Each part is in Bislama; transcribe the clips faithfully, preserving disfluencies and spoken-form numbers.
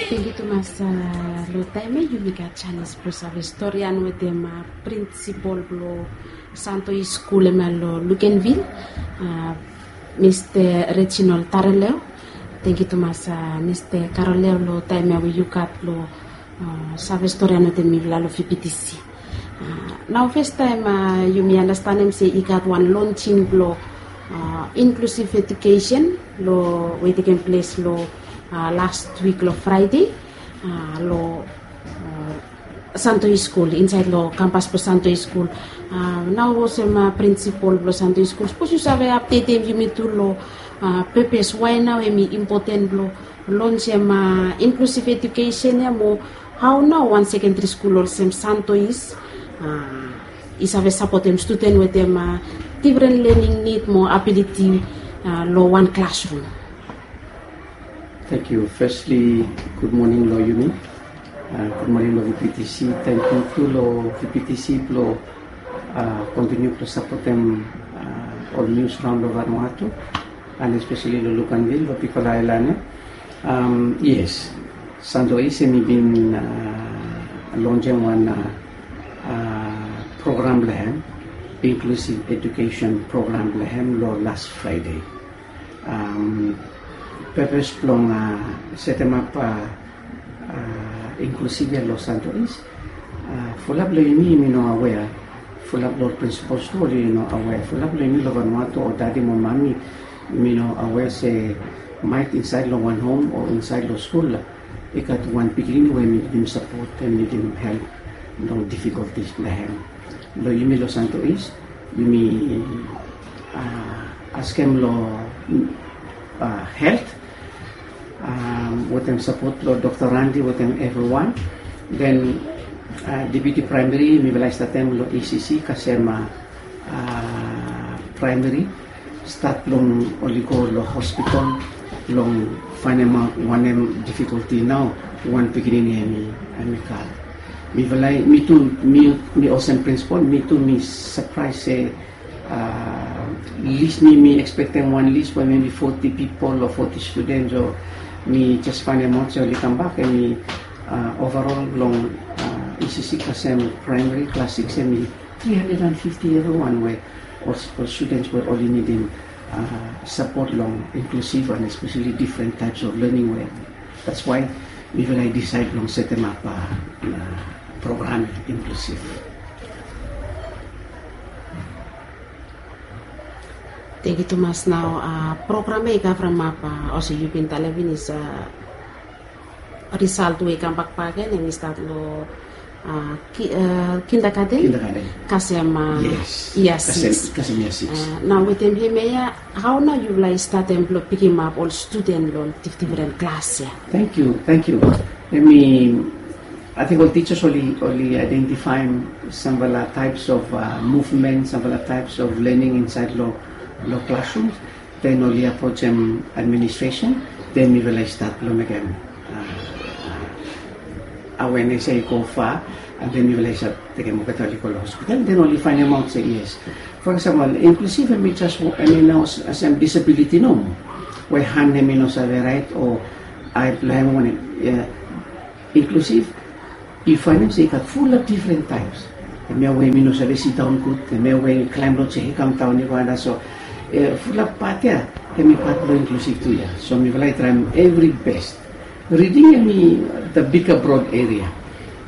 Thank yu tumas. Long taem ya yumi gat janis blong save storian wetem prinsipol blong Santo East Skul, em ya long Luganville, Mista Reginald Taraleo. Thank yu tumas, Mista Taraleo, long taem ya we yu gat blong save storian wetem mifala long V P T C. Nao fastaem yumi anastanem se i gat wan lonsing blong inklusiv ejukesen long we i tekem ples long las wik long Fraede long Santo East Skul, insaed long kampas blong Santo East Skul. Nao olsem prinsipol blong Santo East Skul, sapos yu save apdetem yumi tu long pepes wae nao hem i impoten blong lonsem inklusiv ejukesen ya, mo hao nao wan sekendri skul olsem Santo East i save sapotem studen wetem difren lening nid mo abiliti long wan klasrum. Thank you. Firstly, good morning long yumi. Good morning long V P T C. Thank you tu long V P T C blong kontiniu blong sapotem ol nius raon long Vanuatu, and especially long Luganville, long bigfala aelan ya. Yes, Santo East hem i bin lonsem wan program blong hem, inklusiv ejukesen program blong hem long las Fraede. Pepes blong setemap inklusiv ya long Santo East, fulap long yumi yumi no awea. Fulap long ol prinsipol tu oli no awea. Fulap long yumi long Vanuatu, ol dadi mo mami, yumi no awea se maet insaed long wan hom o insaed long skul i gat wan pikinini we hem i nidim sapot, hem i nidim help long difikoltis blong hem. Long yumi long Santo East, yumi askem long helt wetem sapot blong Dokta Randi wetem evriwan. Den Deputi Praemari mifala i statem long E C C kasem praemari, stat blong oli go long hospital blong faenemaot wanem difikolti nao wan pikinini hem i gat. Mifala i, mi tu, mi olsem prinsipol, mi tu mi sapraes se lis, mi mi ekspektem wan lis we mebi foti pipol o foti studens, o mi jes faenemaot se oli kambak hem i overol blong E C C kasem praemari klas sikis hem i tri handred and fifti evriwan we ol studens we oli nidim sapot long inklusiv and especially different types of learning we. That's why mifala i disaed blong setemap program inklusiv. Thank yu tumas. Nao program ya i kavremap olsem yu bin talem finis, risalt we i kambak bakegen hem i stat long kindergarten kasem yia sikis. Nao wetem hemia ya, hao nao yufala i statem blong pikimap ol studen long difdifren klas ya? Thank yu, thank yu. Hem i, ating ol tijas oli, oli aedentifaem samfala taeps of muvmen, samfala taeps of lening insaed long, long klasrum. Den oli aprojem administresen, den mifala i stat blong mekem awenes ya i go fa, and den mifala i save tekem olgeta oli go long hospital, den oli faenemaot se yes. For example, inklusiv hem i jes, hem i no olsem disabiliti nomo, we han hem i no save raet o ae blong hem wanem. Inklusiv, yu faenem se i gat fulap difren taeps. Hemia we mi no save sidaon gud, hemia we i klaem long sea i kamdaon i go antap. So fulap pat ya hem i pat blong inklusiv tu ya. So mifala i traem evri bes. Riding hem i the bigger broad area.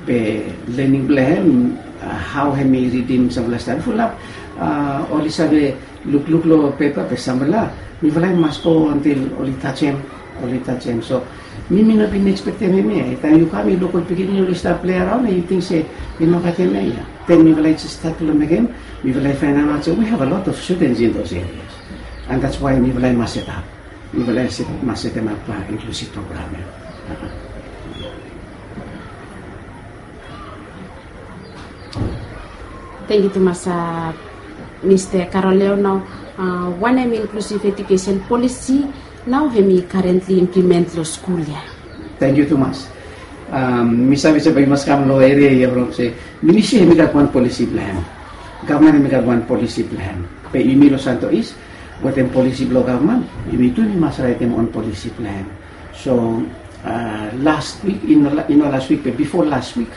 Be lening blong hem, hao hem i ridim samfala stadi fulap, oli save lukluk long pepa, be samfala mifala i mas go antil oli tajem, oli tajem. So mi mi no bin ekspektem hemia. Taem yu kam yu luk ol pikinini oli stap plei araon, yu ting se i no gat hemia ya. Den mifala i jes stat long mekem, mifala i faenemaot se we have a lot of students in those areas. And that's why mifala i mas setap, mifala i mas setemap inklusiv program ya. Tangkiu tumas, Mista Karoleo. Nao wanem inklusiv ejukesen polisi nao hem i karentli implimen long skul ya? Tangkiu tumas. Mi save se bae yu mas kam long eria ya from se ministri hem i gat wan polisi blong hem. Gavman hem i gat wan polisi blong hem. Be yumi long Santo East wetem polisi blong gavman, yumi tu yumi mas raetem on polisi blong hem. So Last week, i no last week be bifo last week,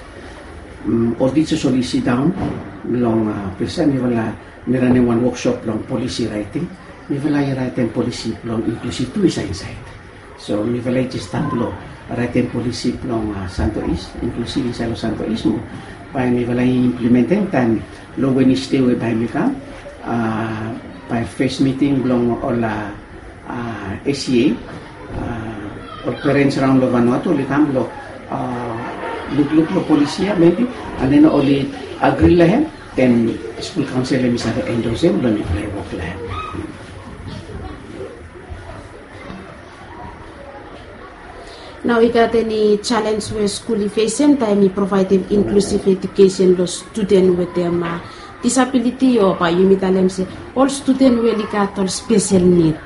ol teachers oli sidaon long ples ya, mifala mi ranem wan workshop long policy writing. Mifala i raetem policy blong inclusive tu i save insaed. So mifala i jes stat blong raetem policy blong Santo East, inclusive insaed long Santo East mo bae mifala i implementem taem long Wednesday we bae mi kam, bae first meeting blong ol A C A, ol parents raon long Vanuatu oli kam blong lukluk long policy ya maybe, and then oli agri long hem, then skul kaonsel hemi save endorse hem blong mifala i wok long hem. Nao i gat eni jalenj we skul i fesem taem i provaedem inklusiv ejukesen long studen wetem disabiliti, o bae yumi talem se ol studen we oli gat ol spesel nid?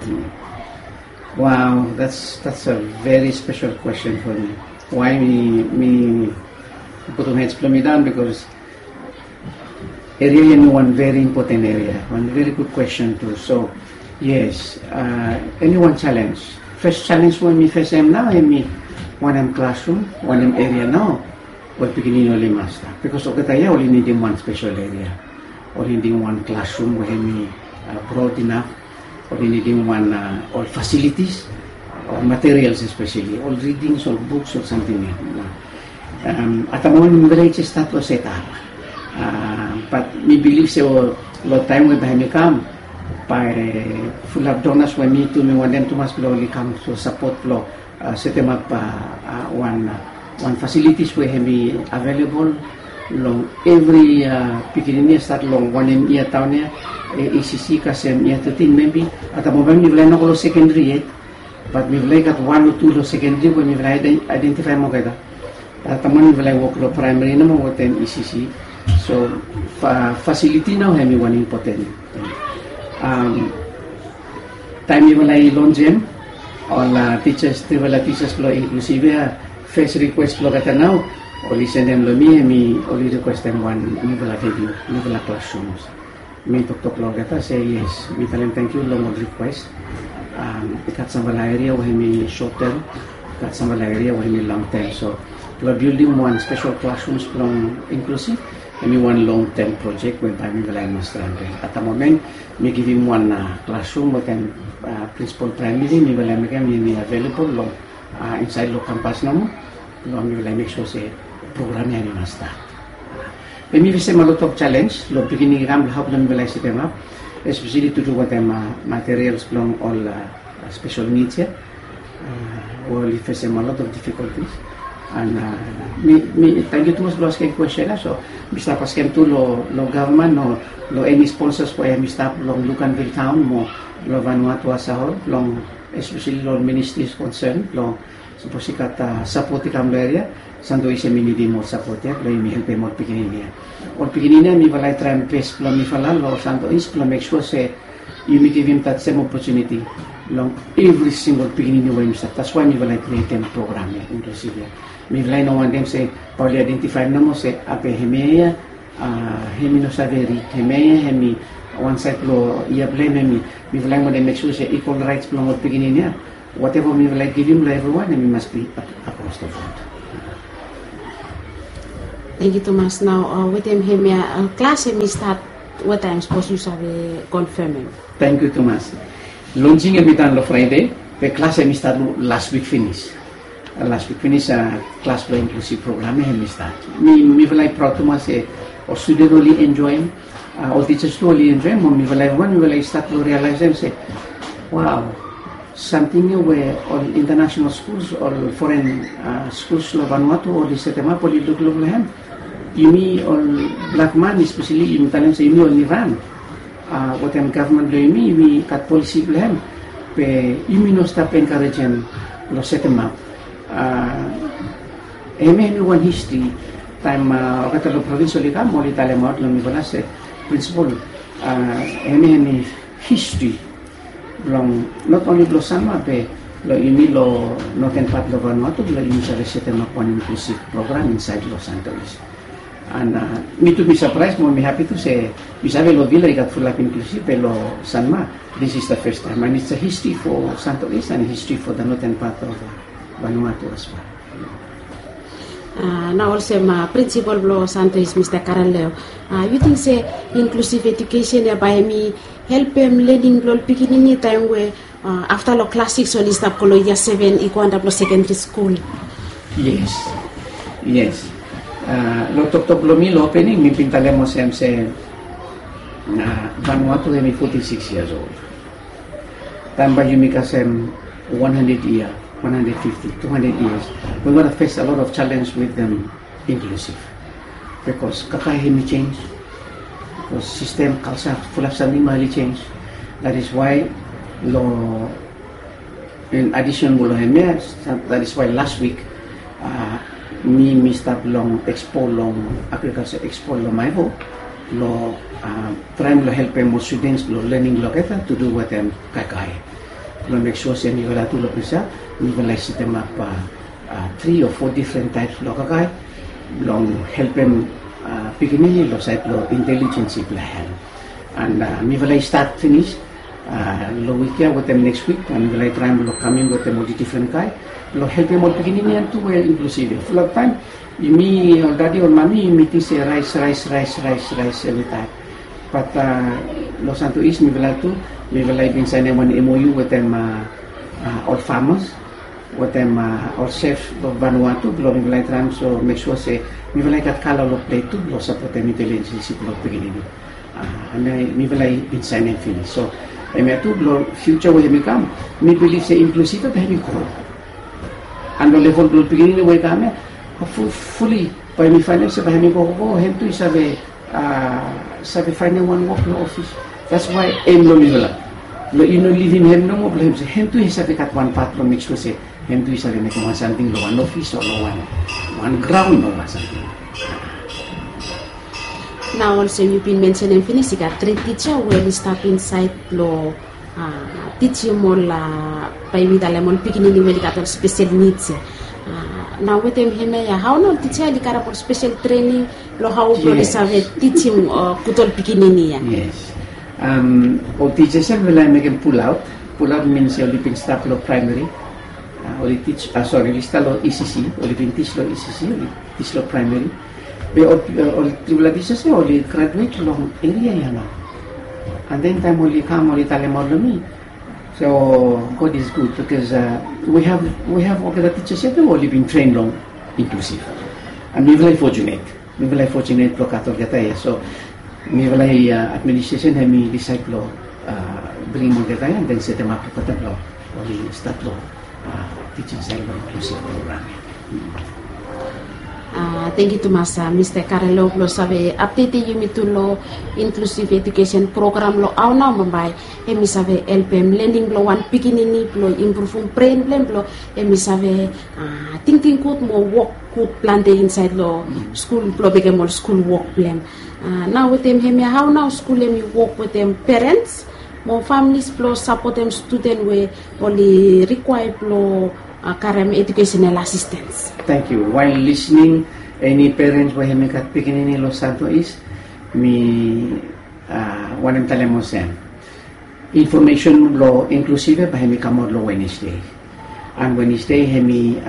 Wow, that's that's a very special question for me. Why mi mi putum hed blong mi daon? Because eria ya hemi wan very important eria, wan very good question tu. So yes, hemi wan jalenj. Fes jalenj we mi fesem nao hemi wanem klasrum, wanem eria nao we pikinini oli mas stap, bikos olgeta ya oli nidim wan spesel eria, oli nidim wan klasrum we hemi brod inaf, oli nidim wan ol fasilitis, ol materials espeseli ol ridings, ol buks, ol samting ya. At the moment mifala i jes stat long setap, bat mi bilif se long taem we bae hemi kam bae fulap donas we mi tu mi wantem tumas blong oli kam long sapot blong setemap wan wan fasilitis we hemi avelebol long evri pikinini ya stat long wanem yia taon ya, E C C kasem yia tetin maybe. At the moment mifala i no go long sekendri yet, bat mifala i gat wan o tu long sekendri we mifala i aedentifaem olgeta. At the moment mifala i wok long praemari nomo wetem E C C. So fasiliti nao hemi wan impoten. Taem mifala i lonjem ol tijas, trifala tijas blong inklusiv ya, fes rikwes blong olgeta nao oli sendem long mi, hemi oli rikwestem wan niufala venue, niufala klasrums. Mi toktok long olgeta se yes, mi talem tangkiu long ol rikwes. I gat samfala eria we hemi sotem, i gat samfala eria we hemi longtem. So blong bildim wan spesel klasrums blong inklusiv, hemi wan longtem projek we bae mifala i mas traem. At the moment mi givim wan klasrum wetem prinsipol praemari, mifala i mekem hemi avelebol long insaed long kampas nomo blong mifala i mek sua se program ya hemi mas stat. Be mi fesem a lot of jalenj long biginin i kam long hao blong mifala i setemap, espeseli tu tu wetem materials blong ol spesel nids ya. We oli fesem a lot of difficulties. And mi mi tangkiu tumas blong askem kwestin ya. So mi stap askem tu long gavman o long eni sponsors we hemi stap long Luganville taon mo long Vanuatu as a whole, long espeseli long ministries concern blong sapos i gat sapot i kam long eria, Santo East hemi nidim ol sapot ya blong yumi helpem ol pikinini ya. Ol pikinini ya mifala i traem bes blong mifala long Santo East blong mek sua se yumi givim that same opportunity long evri singol pikinini we yumi stap. That's why mifala i krietem program ya, inklusiv ya. Mifala i no wantem se bae oli aedentifaem nomo se, a be hemia ya hemi no save rid, hemia ya hemi wan saed blong yia blong hem, hemi. Mifala i wantem mek sua se equal rights blong ol pikinini ya, whatever mifala i givim long evriwan hemi mas bi across the board. Tangkiu tumas. Nao wetem hemia, klas hemi stat wataem, sapos yu save konfemem? Tangkiu tumas. Lonsing hemi tan long Fraede, be klas hemi stat las wik finis. Las wik finis klas blong inklusiv program ya hemi stat. Mi mifala i praod tumas se ol studen oli enjoem, ol tijas tu oli enjoem, mo mifala evriwan mifala i stat long rialaesem se, wow, samting ya we ol international skuls, ol foren skuls long Vanuatu oli setemap, oli lukluk long hem. Yumi ol blak man espeseli, yumi talem se yumi oli ran wetem gavman blong yumi, yumi gat polisi blong hem, be yumi no stap enkarejem long setemap. Hemia hemi wan histri. Taem olgeta long provins oli kam, oli talemaot long mifala se, prinsipol, hemia hemi histri blong not only blong Sanma be long yumi long noten pat long Vanuatu, blong yumi save setemap wan inklusiv program insaed long Santo East. And mi tu mi sapraes mo mi hapi tu se mi save long Vila i gat fulap inklusiv, be long Sanma this is the first time, and it's a history for Santo East and history for the northern part of Vanuatu as well. Nao olsem prinsipol blong Santo East, Mista Karaleo, yu ting se inklusiv ejukesen ya bae hemi helpem lening blong ol pikinini taem we afta long klas sikis oli stap go long yia seven i go antap long sekendri skul? Yes, yes. Long toktok blong mi long opening mi bin talem olsem se Vanuatu hemi foti sikis yias ol. Taem bae yumi kasem wan handred yia, wan handred fifti, tu handred yias, we gonna face a lot of challenge with them inklusiv. Bikos kakae hemi jenis, bikos sistem, kalsa, fulap samting bae oli jenis. That is why long in addition blong hemia, that is why last week mi mi stap long ekspo long agrikalsa ekspo long Maevo blong traem blong helpem ol studens blong lening olgeta tu du wetem kakae. Blong mek sua se mifala tu long ples ya mifala i setemap tri o fo difren taeps blong kakae blong helpem pikinini long saed blong intelijens blong hem. And mifala i stat finis long wik ya wetem neks wik, and mifala i traem blong kaming wetem ol difren kae blong helpem ol pikinini ya tu we inklusiv ya. Fulap taem yumi ol dadi ol mami yumi ting se raes, raes, raes, raes, raes evritaem. Bat long Santo East mifala tu mifala i bin saenem wan M O U wetem ol famas wetem ol sef blong Vanuatu blong mifala i traem so mek sua se mifala i gat kala long ples tu blong sapotem intelijens blong pikinini. Mifala i bin saenem finis. So hemia tu long fiuja we hemi kam, mi bilif se inklusiv ya bae hemi gro. And long level blong pikinini we i kam ya, hopfuli bae mi faenem se bae hemi gogogo, hem tu i save save faenem wan wok long ofis. That's why hem long mifala blong i no livim hem nomo blong hem se hem tu i save gat wan pat blong mek sua se hem tu i save mekem wan samting long wan ofis o long wan graon o wan samting. Nao olsem yu bin mensenem finis, i gat tri tija we oli stap insaed blong tijim ol, bae mi talem ol pikinini we oli gat ol spesel nids ya. Nao wetem hemia ya, hao nao ol tija oli karem ol spesel trening long hao blong oli save tijim gud ol pikinini ya? Yes. Ol tija ya mifala i mekem pulaot. Pulaot min se oli bin stap long praemeri, oli tij, sori, oli stap long E C C, oli bin tij long E C C, oli tij long praemeri. Be ol trifala tija ya oli graduet long eria ya nao. And then taem oli kam oli talemaot long mi, so God is good, bikos we have, we have olgeta tija ya tu oli bin tren long inklusiv. And mifala i fortunate, mifala i fortunate blong gat olgeta ya. So mifala i administresen hemi disaed blong bringim olgeta ya and then setemap olgeta blong oli stat long tijing saed long inklusiv program ya. Tangkiu tumas Mista Karaleo blong save apdetem yumi tu long inklusiv ejukesen program long hao nao bambae hemi save helpem lening blong wan pikinini blong impruvum bren blong hem blong hemi save tingting gud mo wok gud plante insaed long skul blong mekem ol skul wok blong hem. Nao wetem hemia, hao nao skul hemi wok wetem perens mo familis blong sapotem studen we oli rikwaea blong karem ejukesenal asistens? Tangkiu. Wael lisning eni perens we hemi gat pikinini long Santo East, mi wantem talem olsem, infomesen blong inklusiv ya bae hemi kamaot long Wenesde. And Wenesde hemi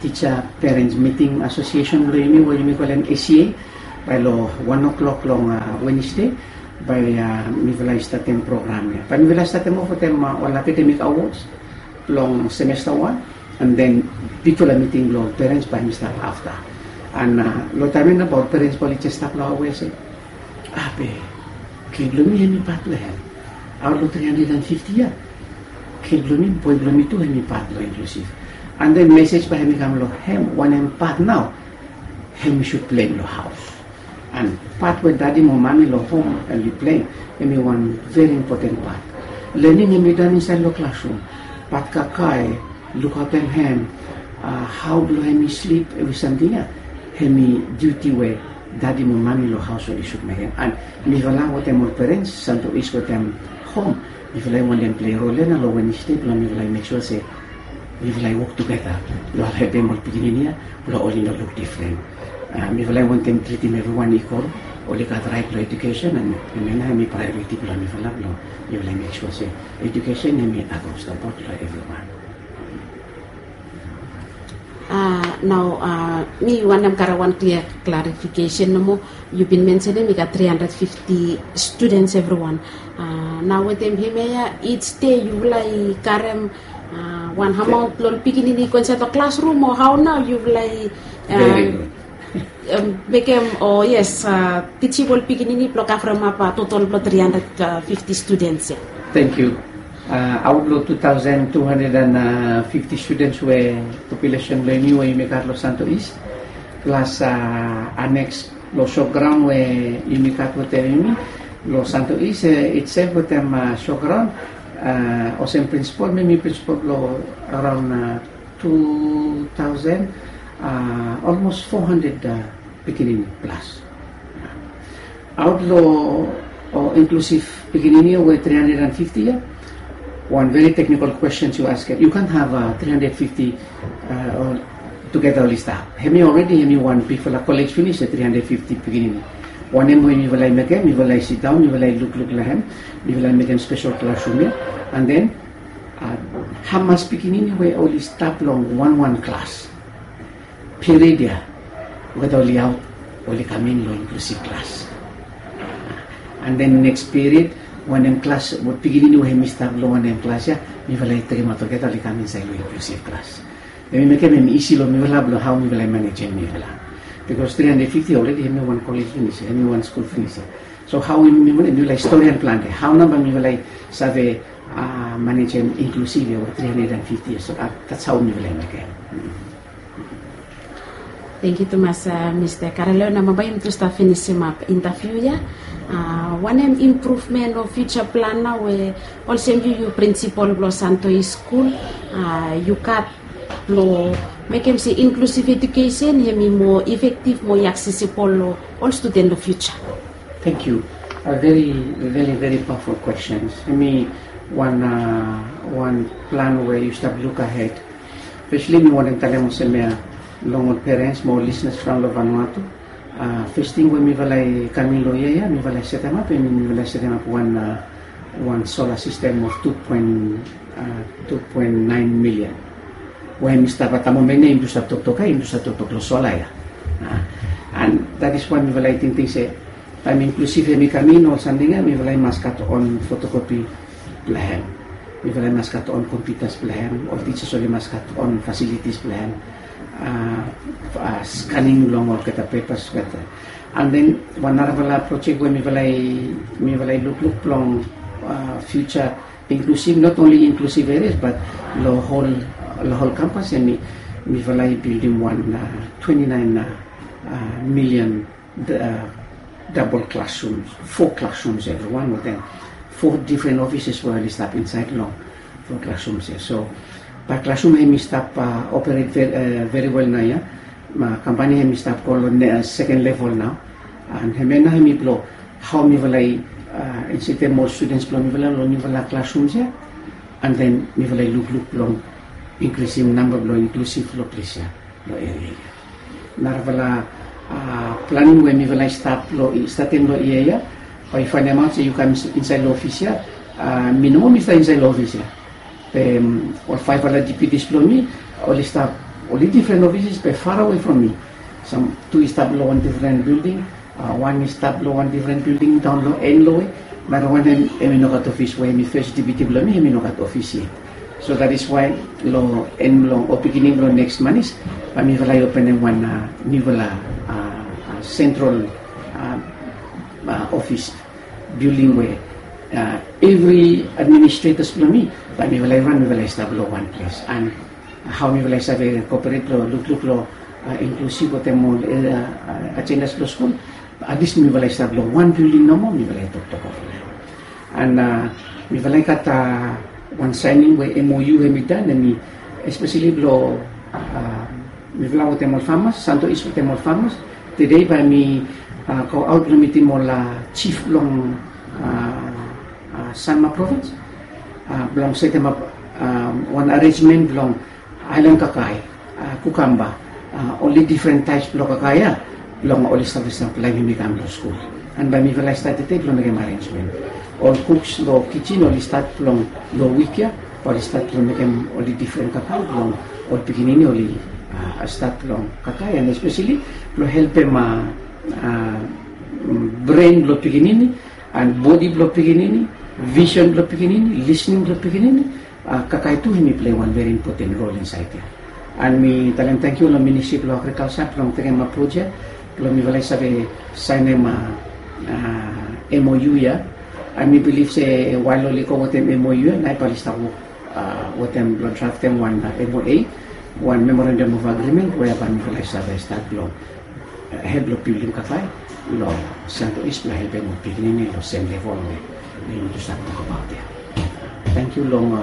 tija perens miting asosiesen blong yumi we yumi kolem A C A. Bae long wan o'clock long Wenesde bae mifala i statem program ya. Bae mifala i statem of wetem ol akademik awods blong semesta wan, and then bigfala miting blong perens bae hemi stap afta. And long taem ya nao bae ol perens bae oli jes stap long hao we se, a be, kid blong mi hemi pat blong hem. Aot long tri handred and fifti yia, kid blong mi, boe blong mi tu hemi pat blong inklusiv. And then mesej bae hemi kam long hem wanem pat nao hemi sud pleim long haos. And pat we dadi mo mami long hom oli pleim hemi wan veri impoten pat. Lening hemi don insaed long klasrum, bat kakae lukaotem hem, hao blong hem i slip, evri samting ya hemi diuti we dadi mo mami long haos oli sud mekem. And mifala wetem ol perens, Santo East wetem hom, mifala i wantem plei rol ya nao long Wenesde blong mifala i mek sua se mifala i wok tugeta blong helpem ol pikinini ya blong oli no luk difren. Mifala i wantem tritim evriwan ikwal, oli gat raet long ejukesen, and hemia nao hemi praeoriti blong mifala blong mifala i mek sua se ejukesen hemi akros long bot blong evriwan. Nao mi wantem karem wan klia klarifikesen nomo. Yu bin mensenem i gat tri handred fifti studens evriwan. Nao wetem hemia ya, ij dei yufala i karem wan amaon blong ol pikinini i go insaed long klasrum o hao nao yufala i mekem, o yes, tijim ol pikinini blong kavremap totol blong tri handred fifti studens ya? Tangkiu. Aot long tu taosen tu handred an fifti studens we populesen blong yumi we yumi gat long Santo East, plas aneks long showground we yumi gat wetem yumi long Santo East itsef wetem showground, olsem prinsipol, mi mi prinsipol blong araon tu taosen, olmos fo handred pikinini plas. Aot long inklusif pikinini we tri handred an fifti ya, wan veri teknikol kwestens yu askem. Yu kant have tri handred fifti tugeta oli stap. Hemi alredi hemi wan bigfala kolej finis ya, tri handred fifti pikinini. Wanem we mifala i mekem, mifala i sidaon, mifala i lukluk long hem, mifala i mekem spesel klasrum ya. An den hamas pikinini we oli stap long wanwan klas? Period ya, olgeta oli aot, oli kam in long inklusif klas. An den neks period, wanem klas, pikinini we hemi stap long wanem klas ya, mifala i tekemaot olgeta oli kam insaed long inklusif klas. Hemi mekem hemi isi long mifala blong hao mifala i manejem mifala. Bikos tri handred fifti alredi hemi wan kolej finis ya, hemi wan skul finis ya. So hao mifala i storian plante, hao nao bae mifala i save manejem inklusif ya we tri handred an fifti ya? So dats hao mifala i mekem. Tangkiu tumas, Mista Karelo. Nao bae yumi tu stap finisimap intaviu ya. Wanem impruvmen o fiuja plan nao we olsem yu, yu prinsipol blong Santo East Skul, yu gat blong mekem se inklusif ejukesen hemi moa efektif, moa aksesibol long ol studen long fiuja? Tangkiu. A veri, veri, veri pawaful kwestens. Hemi wan, wan plan we yu stap luk ahed. Fesli mi wantem talem olsem ya long ol perens mo ol lisnas from long Vanuatu. Fes ting we mifala i kam in long yia ya, mifala i setemap, hemi mifala i setemap wan, wan sola sistem of tu poen, tu poen naen milian. We hemi stap, at the moment ya yumi tu stap toktok ya, yumi tu stap toktok long sola ya. An dat is why mifala i tingting se taem inklusif hemi kam in ol samting ya, mifala i mas gat on fotokopi blong hem. Mifala i mas gat on kompiutas blong hem, ol tijas oli mas gat on fasilitis blong hem. Skaning blong olgeta pepas olgeta. An den wan narafala projek we mifala i, mifala i lukluk blong fiuja inklusif, not only inklusif erias bat long hol, long hol kampas ya, mi, mifala i bildim wan twenti naen milian dabol klasrums, fo klasrums evriwan wetem fo difren ofises we oli stap insaed long fo klasrums ya. So bae klasrum hemi stap operet veri wel nao ya. Kampani hemi stap go long seken level nao. An hemia nao hemi blong hao mifala i insetem ol studens blong mifala long niufala klasrums ya. An den mifala i lukluk blong inkrisim namba blong inklusif long ples ya, long eria ya. Narafala planing we mifala i stap long, i statem long yia ya, bae yu faenemaot se yu kam insaed long ofis ya, mi nomo mi stap insaed long ofis ya. Be ol faefala deputis blong mi oli stap, oli difren ofises be farawe from mi. Sam tu i stap long wan difren bilding, wan i stap long wan difren bilding daon long en long we. Narawan hem, hemi nogat ofis we hemi fes deputi blong mi, hemi nogat ofis yet. So dat is wae long en blong, o beginning blong neks manis, bae mifala i openem wan niufala sentral ofis bilding we evri administretas blong mi, bae mifala i ran, mifala i stap long wan ples. An hao mifala i save koperate long lukluk long inklusif wetem ol ajendas blong skul, atlis mifala i stap long wan bilding nomo, mifala i toktok ova long hem. An mifala i gat wan saening we M O U hemi dan, hemi espeseli blong mifala wetem ol famas, Santo East wetem ol famas. Tede bae mi go aot blong mitim ol jif blong Sanma provins blong setemap wan arenjmen blong aelan kakae, kukamba, oli difren taeps blong kakae ya, blong oli save saplaem hemi kam long skul. An bae mifala i stat tede blong mekem arenjmen. Ol kuks long kijin oli stat blong long wik ya, oli stat blong mekem oli difren kakae blong ol pikinini oli Stat blong kakae and especially blong helpem a bren blong pikinini and bodi blong pikinini, visen blong pikinini, lisning blong pikinini. Kakae tu hemi plei wan veri impoten rol insaed ya. And mi talem tangkiu long ministri blong agrikalsa blong tekem a projek blong mifala i save saenem a mou ya. And mi bilif se wael oli go wetem mou ya na i bali stap wok wetem blong draftem wan mou, wan memorandum of agrimen we ya bai mifala i save stat blong help blong bildim kakae long santo is blong helpem ol pikinini long sem level we yumi tu stap tokabaot ya. Tangkiu long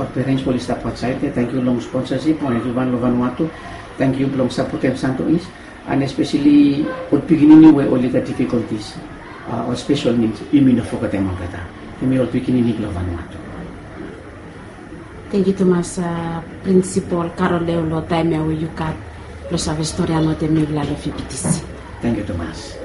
ol perens we oli stap aotsaed ya, tangkiu long sponsasip blong evriwan long vanua tu. Tangkiu blong sapotem santo is and espeseli ol pikinini we oli gat difikoltis, ol spesel nid, yumi no fogetem olgeta. Hemi ol pikinini blong vanua tu. Tangkiu tumas, prinsipol karol leo long taem ya we yu gat blong save stori anotem mifala long fifti. Tangkiu tumas.